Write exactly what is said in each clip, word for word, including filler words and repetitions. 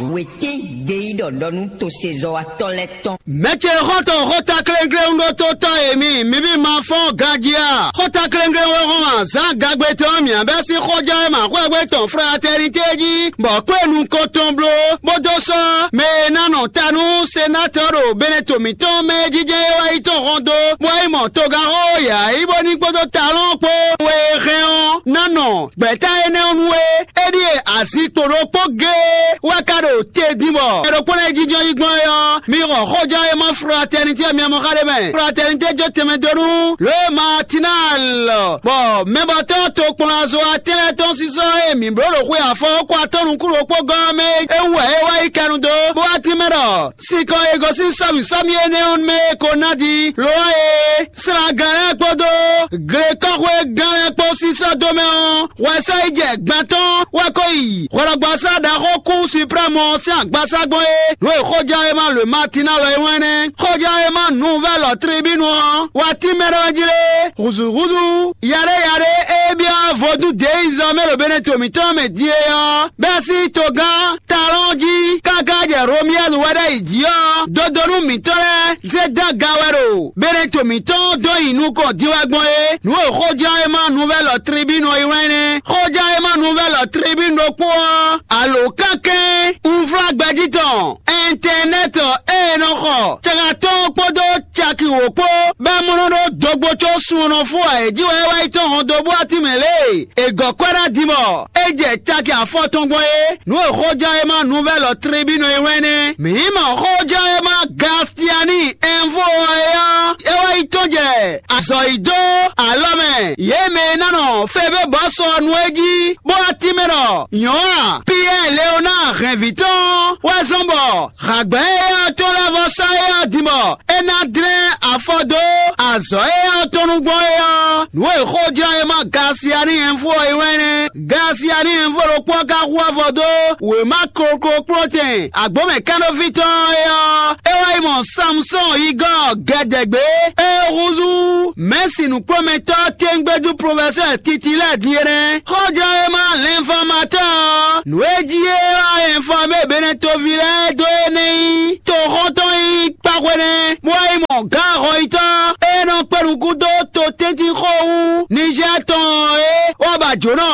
Wětín gbeyíɖɔ ɖɔ nú tosezɔ́watɔ́ lɛ́ɛ tɔn. Mɛ ce xɔ́ntɔn xóta klénglén ɖótótɔ́ e mi, mi bí ma fɔ́n ganjí a? Xóta klénglén wɛ hɔn azǎn gagbe tɔn mǐ bɛ́ sín xɔján e ma xwɛ́gbe tɔn fraternité jí, bɔ kpé nukɔn tɔn bló, bó dó sɔ́ mɛ e ná nɔ ta nú senátɔ́ ɖo Benɛto mǐtɔn mɛ e jínjɔ́n é wá yi tɔn hɔn dó, bó wá yi mɔ togánxó yǎyí bó ní kpódó talɔ́n kpó we e hɛn ɔ́ ná nɔ gbɛ̌ta énɛ́ ɔ́ nu é. É ɖíe azinkpo ɖokpó géé wɛ ka ɖo te din bɔ mɛ ɖokpó lɛ́ɛ jínjɔ́n yi gbɔn é ɔ́, mi xɔ xóján e ma fraternité ɔ́ mi mɔ xá ɖé mɛ. Fraternité jó tɛnmɛ dó nú lě e Matinal bɔ mɛbɔtɔ́ tokplɔ́nzɔ́watɛ́n lɛ́ɛ tɔn sísɔ́ e mǐ bló ɖo xwe afɔ ɔ́ kɔ atɔ́ nukún ɖokpó gɔ́ ɔ́ mɛ é wú wɛ é wá yi kɛnu dó, bó wá tínmɛ ɖɔ sinkɔn e gosín sɔ́mǐ sɔ́mǐ énɛ́ ɔ́ mɛ é ko ná ɖi. Lo ɔ́ e, slagán lɛ́ɛ kpódó glekɔ́xwé gán lɛ́ɛ kpó sísɔ́ dó mɛ ɔ́, hwɛsɛ́ yi jɛ gbɛn tɔn wɛ ko yi hwɛɖɔgbasá ɖaxó kú Suprɛ́mu ɔ́ sín agbasá gbɔn é. Nǔ e xóján e ma lwe Matina lɔ é wɛn nɛ́. Xóján e ma nǔvɛ́lɔ tribínu ɔ́ wá tín mɛ ɖé wɛ jí lé. Hǔzúhúzú yaɖé yaɖé e byɔ́ vodún deeyizɔ́ mɛ ɖo Benɛto mǐtɔn mɛ din é ɔ́, bɛ́ sín togán talɔn jí káká jɛ Romiyɛ́lu wɛ ɖ'ayǐ jí ɔ́, dodonu mǐtɔn lɛ́ɛ zé dó aga wɛ ɖo Benɛto mǐtɔn dó nyi nukɔn din wɛ gbɔn é. Nǔ e xóján e ma nuvɛ́lɔ tribínu ɔ́ yi wlán nɛ́. Xóján e ma nuvɛ́lɔ tribínu ɖokpó ɔ́, alǒ kánkɛ́n unflágbɛjí tɔn ɛntɛnɛ́tɔ e è nɔ xɔ cɛ́xá tɔn kpódó caki wǒ kpó bɛ́ mlɔ́ ɖó dogbo có sunnɔ fó ǎ é jí wɛ é wá yi tɔ́n hɔn dó bú atímɛ lě e è gɔ̌ kwɛ́ ná din bɔ é jɛ caki afɔ tɔn gbɔn é. Nǔ e xóján e ma nuvɛ́lɔ tribínu e wɛn nɛ́. Mǐ mɔ xóján e ma Gastiani ɛnvó ɔ́ é ɔ́, é wá yi tɔ́n jɛ azɔ̌ yi dó alɔ mɛ. Yě mɛ e ná nɔ febé bɔ́ sɔ nú é jí bó wá tínmɛ ɖɔ nyɔ̌ a? Piyɛ́ɛ Leonáa hɛn vǐ tɔn wɛ zɔ́n bɔ hǎgbɛ́ éyɛ́ ɔ́ tɔn lɛ́ vɔ sɔ́ éyɛ́ ɔ́ din bɔ é ná dlɛ́n afɔ dó azɔ̌ éyɛ́ ɔ́ tɔn nú gbɔn é ɔ́, nǔ e xójlɔ́ e ma Gasiani ɛnfú ɔ́ yi wɛn nɛ́. Gasiani ɛnfú ɖokpó ɔ́ ka hu afɔ dó wěma koklokplɔ́tɛn agbǒmɛ kánɖóví tɔn ɔ́ é ɔ́, é wá yi mɔ Samusɔ́ɔn yigɔ́ gɛdɛgbě e húzú mɛ̌si nǔkplɔ́nmɛtɔ́ tɛ́ngbɛ́jú plofɛsɛ́ Titilɛ́ɛ din é nɛ́. Xójlɔ́ e ma lɛnfɔmatɔ́ ɔ́, nǔ e jí é wá ɛnfɔmé Benɛtoví lɛ́ɛ dó é nɛ́ nyí toxɔ́ntɔn nyí kpáxwé nɛ́, bó wá yi mɔ gǎn ahɔnyitɔ́ e nɔ kpé nukún dó to tɛ́ntin xó wú Nizɛ́ɛ tɔn ɔ́ é, wá ba jǒnɔ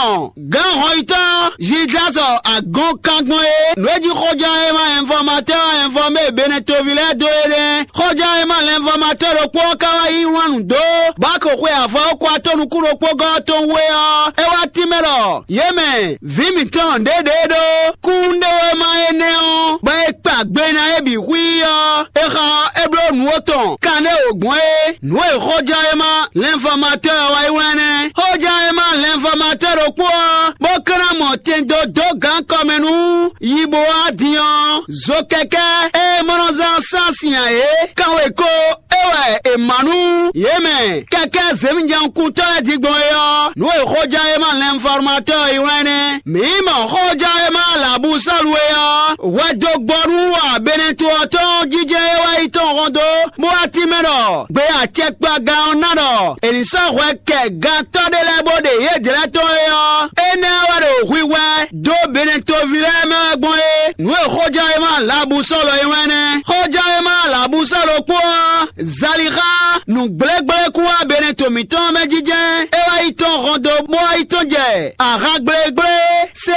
gǎn ahɔnyitɔ́ Zidlásɔ agɔnkangbɔn é. Nǔ e jí xóján e ma ɛnfɔmatɔ́ ɛnfɔmé Benɛtoví lɛ́ɛ dó é nɛ́. Xóján e ma lɛnfɔmatɔ́ ɖokpó ɔ́ ka wá yí wǎn nǔ dó báko xwe avɔ ɔ́ kó atɔ́ nukún ɖokpó gɔ́ tɔn wú é ɔ́, é wá tínmɛ ɖɔ yě mɛ vǐ mǐtɔn ɖěɖě ɖó kúnɖéwéma énɛ́ ɔ́, bɔ é kpa gbe ná é bǐ xwí ɔ́, é xa ɔ́, é bló nǔ atɔn kanɖé wǒ gbɔn é. Nǔ e xóján e ma lɛnfɔmatɔ́ ɔ́ wá yi wlán nɛ́. Xóján e ma lɛnfɔmatɔ́ ɖokpó ɔ́, bó ka ná mɔ tɛn dó dó gǎn kɔmɛ nú yi bó wá din ɔ́, zo kɛkɛ́ e mɔ nɔ zán sán sin ǎ é, kanwe ko é wɛ è mǎ nú yě mɛ kɛkɛ́ zěmijɛnkuntɔ́ lɛ́ɛ din gbɔn é ɔ́, nǔ e xóján e ma lɛnfɔmatɔ́ ɔ́ yi wlán nɛ́. Mǐ mɔ xóján e ma Labusɔ́lu é ɔ́, hwɛ dó gbɔ nú Abɛnɛtu ɔ́ tɔn jijɛ e wá yi tɔn hɔn dó, bó wá tínmɛ ɖɔ gbe acɛkpagán ɔ́ ná ɖɔ è nǐ sɔ́ hwɛ kɛ gantɔ́ ɖé lɛ́ɛ bó ɖe yědɛɛ tɔn é ɔ́, énɛ́ wɛ ɖo hwihwɛ dó Benɛtoví lɛ́ɛ mɛ wɛ gbɔn é. Nǔ e xóján e ma Labusɔ́lu é wɛn nɛ́. Xóján e ma Labusɔ́lu kpó ɔ́, Zalixá nǔgblégblékún wá Benɛto mǐtɔn mɛ jijɛ é wá yi tɔn hɔn dó bó wá yi tɔn jɛ ahan gblégblé sé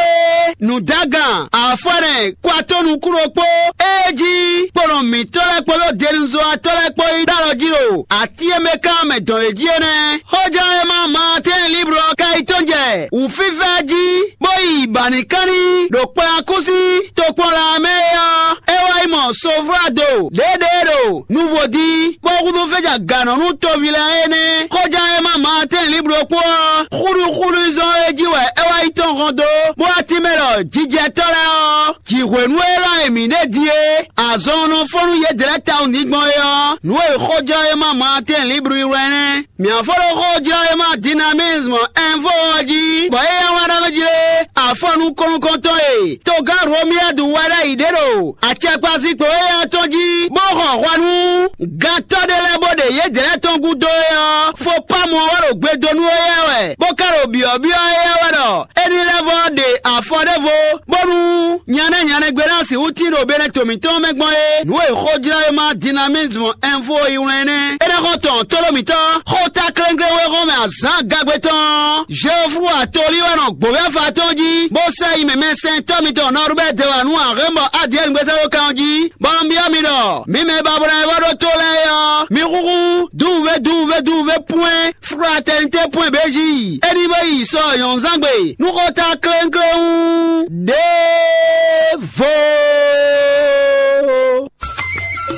nǔdágan afɔ́nɛ kwatɔ́ nukúnɖokpó é jí kponɔ mǐtɔn lɛ́ɛ kpódó denuzɔ́watɔ́ lɛ́ɛ kpó yi ɖó alɔ jí ɖo atín e mɛ kán mɛ dɔn yě jí é nɛ́. Xóján e ma Maatɛ́n Liblu ɔ́ ka yi tɔ́n jɛ wǔfífá jí bó yi Banikánní ɖo Kplakúsi tokpɔnla mɛ é ɔ́, é wá yi mɔ Soflado ɖěɖě ɖo Nuvodí, bó húzú fɛ́ja gǎnɔ nú toví lɛ́ɛ é nɛ́. Xóján e ma Maatɛ́n Liblu kpó ɔ́, xúɖuxúɖu zɔn é jí wɛ é wá yi tɔn hɔn dó, bó wá tínmɛ ɖɔ jijɛtɔ́ lɛ́ɛ ɔ́, jǐhwenu élɔ́ e mǐ ɖe din é, azɔn ɔ́ nɔ fɔ́n nú yědɛɛ tawun ní gbɔn é ɔ́, nǔ e xóján e ma Maatɛ́n Liblu yi wɛ nɛ́. Mǐ fó ɖo xó jlɔ́ e ma Dinamisme Info ɔ́ jí, bɔ é yá wá ɖɔ mɛ jí lé, afɔ nukɔn nukɔntɔn e togán Romiyɛ́du wɛ ɖ'ayǐ ɖe ɖo acɛkpazikpo éyɛ́ tɔn jí, bó xɔ hwɛ nú gantɔ́ ɖé lɛ́ɛ bó ɖe yědɛɛ tɔn gúdo é ɔ́, fopámu ɔ́ wɛ ɖo gbe dó nú éyɛ́ wɛ, bó ka ɖo byɔ̌byɔ́ éyɛ́ wɛ ɖɔ é ní lɛ́ vɔ́ ɖe afɔ ɖěvo, bónú Nya nɛ́ nya nɛ́ gbe ná sixú tín ɖo Benɛto mǐtɔn mɛ gbɔn é, nǔ e xójlɔ́wéma Dinamisme Info yi wlán é nɛ́. É nɛ́ xɔ tɔn tóɖó mǐtɔn, xó ta klénglé wé hɔn mɛ azǎn gagbe tɔn ɔ́, Jeoflu atolí wɛ nɔ gbǒvɛ́fa tɔn jí, bó sɛ yi mɛmɛsɛntɔ́ mitɔn Nɔrubɛ́ de wǎ nú Arɛ́nbɔ Adiyɛ́ɛn gbézɛ́dókan ɔ́ jí, bɔ un byɔ́ mi ɖɔ, mǐ mɛ ba bo ná yi vɔ ɖó tó lɛ́ɛ é ɔ́, mi húhú dúwuvé dúwuvé dúwuvé pwɛ́n fraternité pwɛ́n bějí. É ní bó yi sɔ nyɔ̌nzángbe nú xó ta klénklén wú. Ɖěvo.